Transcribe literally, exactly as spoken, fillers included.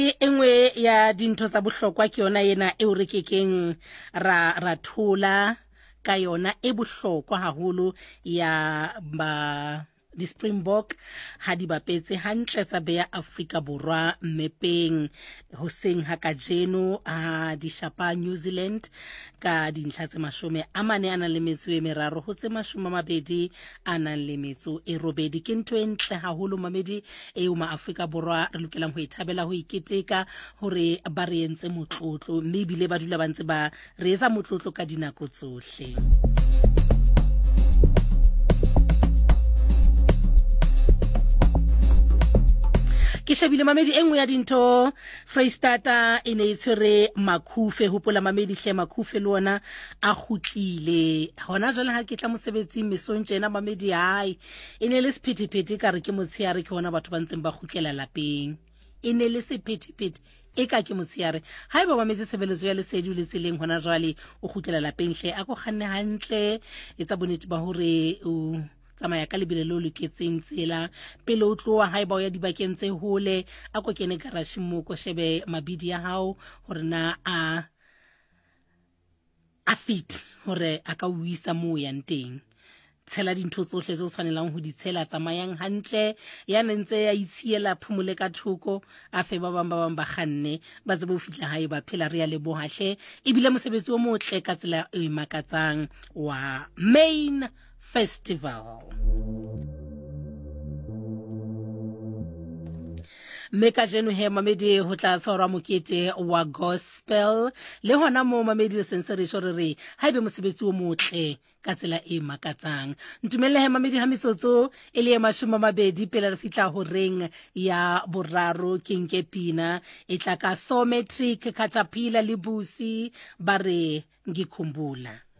E nngwe ya dintho tsa bohlokwa ke yona ena eo re kekeng ra ra thola ka yona, e bohlokwa haholo ya ba di-Springbok ha di bapetse hantle tsa beya Afrika Borwa mmepeng hoseng ha kajeno ha di shapa New Zealand ka dintlha tse mashome a mane a nang le metso e meraro ho tse mashome a mabedi a nang le metso e robedi. Ke ntho e ntle haholo mamedi eo ma Afrika Borwa re lokelang ho e thabela, ho e keteka hore ba re entse motlotlo, mme ebile ba dula ba ntse ba re etsa motlotlo ka dinako tsohle. Ke shebile mamedi e nngwe ya dintho, Freistata e ne e tshwere Makhufe. Hopola mamedi hle, Makhufe le ona a kgutlile hona jwale. Ha ke tla mosebetsing mesong tjena mamedi, hai e ne le sephethephethe ka re ke motsheare, ke hona batho ba ntseng ba kgutlela lapeng. E ne le sephethephethe e ka ke motsheare. Haeba ba metse tshebeletso ya lesedi o le tseleng hona jwale o kgutlela lapeng, hle a ko kganne hantle, etsa bonnete ba hore o tsamaya ka lebelo le o loketseng tsela pele o tloha. Haeba o ya dibakeng tse hole, a ko kene garageng moo, ko shebe mabidi ya hao hore na a a fit hore a ka o isa moo o yang teng. Tshela dintho tsohle tse o tshwanelang ho di tshela, tsamayang hantle. Ya ne ntse a itshiela phomole ka thoko, a fe ba bang ba bang ba kganne ba tsebe ho fihla hae ba phela. Re ya leboha hle, ebile mosebetsi o motle ka tsela e makatsang wa Main Festival. Mme kajeno he mamedi ho tla tshwarwa mokete wa gospel le hona moo mamedi le sentse re tjho re re haebe mosebetsi o motle ka tsela e makatsang. Ntumelle he mamedi ha metsotso e le e mashome a mabedi pele re fihla horeng ya boraro, ke nke pina e tla ka Sometric Caterpillar le Busi ba re ngikhumbula.